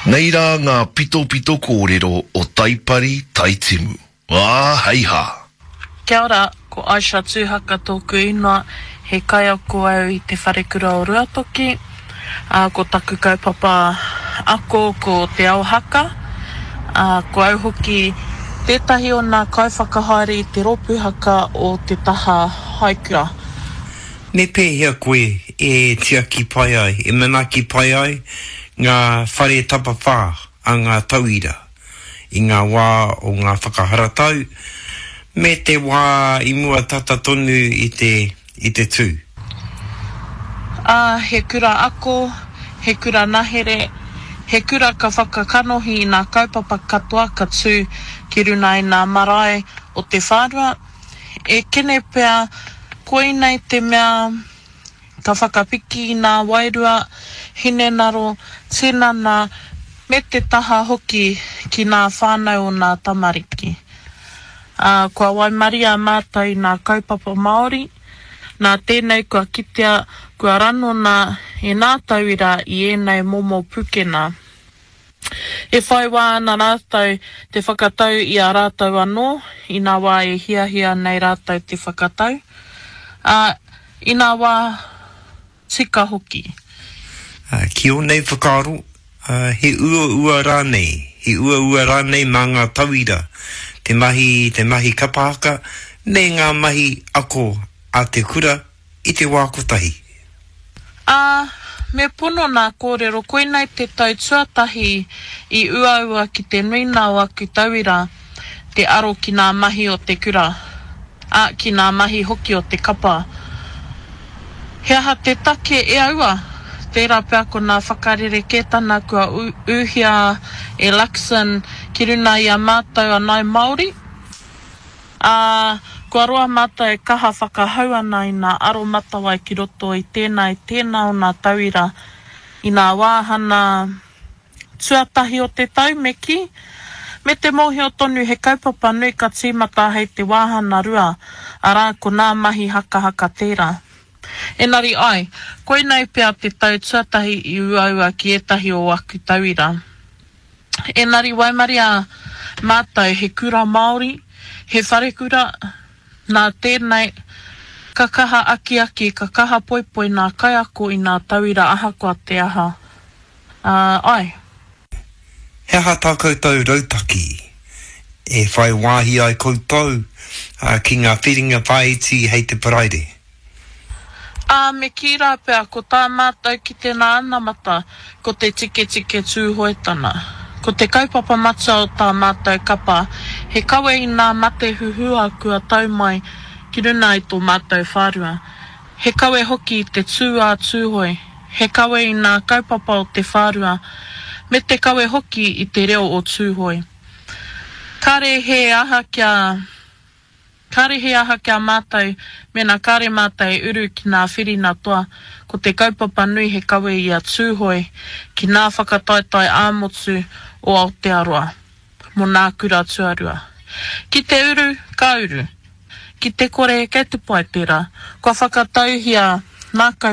Nei rā ngā pitopito kōrero o Taipari Taitimu. Ā, hei hā! Kia ora, ko Aisha Tuhaka tōku ingoa, he kaiako au i Te Wharekura o Ruatoki, ā, ko taku kaupapa ako ko Te Ao Haka, ā, ko au hoki tētahi o nā kaiwhakahaere i te rōpū haka o te taha haikura. Me pēhea koe e tiaki pai ai, e manaaki pai ai ngā whare tapawhā a ngā tauira i ngā wā o ngā whakaharatau me te wā i mua tata tonu i te, i te tū? Ā, he kura ako, he kura nahere, he kura ka whakakanohi i nā kaupapa katoa ka tū ki runa i nā marae o te whārua, E kene pea koinei te mea ka whakapiki i nā wairua, hinenaro, tinana, me te taha hoki ki nā whānau o nā tamariki. Ā, kua waimaria mātou i nā kaupapa Māori, nā tēnei kua kitea, kua ranona e nā tauira i ēnei momo pukena. E whai wā ana rātou te whakatau i a rātou anō i nā wā e hiahia nei rātou te whakatau, ā, i nā wā tika hoki. Ki ō nei whakaaro, he uaua rānei, he uaua rānei mā ngā tauira te mahi te mahi kapa haka me ngā mahi ako a te kura i te wā kotahi? Ā, me pono nā kōrero koinei te tau tuatahi i uaua ki te nuina o aku tauira te aro ki nā mahi o te kura, ā, ki nā mahi hoki o te kapa. He aha te take e aua? Tērā pea ko nā whakarerekētana kua ūhia e Luxon ki runa i a mātou a Nāi Māori? Ā, kua roa mātou e kaha whakahau ana i nā aromatawai ki roto i tēnā i tēnā o nā tauira i nā wāhana tuatahi o te tau, me kī, me te mōhio tonu he kaupapa nui ka tīmata hei te wāhana rua, arā, ko nā mahi hakahaka tērā. Engari āe, koinei pea te tau tuatahi i uaua ki ētahi o aku tauira. Engari waimaria mātou he kura Māori, he wharekura, nā tēnei, ka kaha akiaki, ka kaha poipoi nā kaiako i nā tauira ahakoa te aha. Ā, āe. He aha tā koutou rautaki e whai wāhi ai koutou ki ngā whiringa whāiti hei te Paraire? Ā, me kī rā pea, ko tā mātou ki te nā anamata, ko te tiketike Tūhoetana. Ko te kaupapa matua o tā mātou kapa, he kawe i nā mate huhua kua tau mai ki runa i tō mātou whārua. He kawe hoki i te tū ā Tūhoe, he kawe i nā kaupapa o te whārua, me te kawe hoki i te reo o Tūhoe. Kāre he aha kia. Kāre he aha ki a mātou, mēnā kāre mātou e uru ki nā whirina toa, ko te kaupapa nui he kawe i a Tūhoe ki nā whakataetae ā-motu o Aotearoa, mō nā kura tuarua. Ki te uru, ka uru. Ki te kore, kei te pai tērā. Kua whakatauhia nā kaupapa.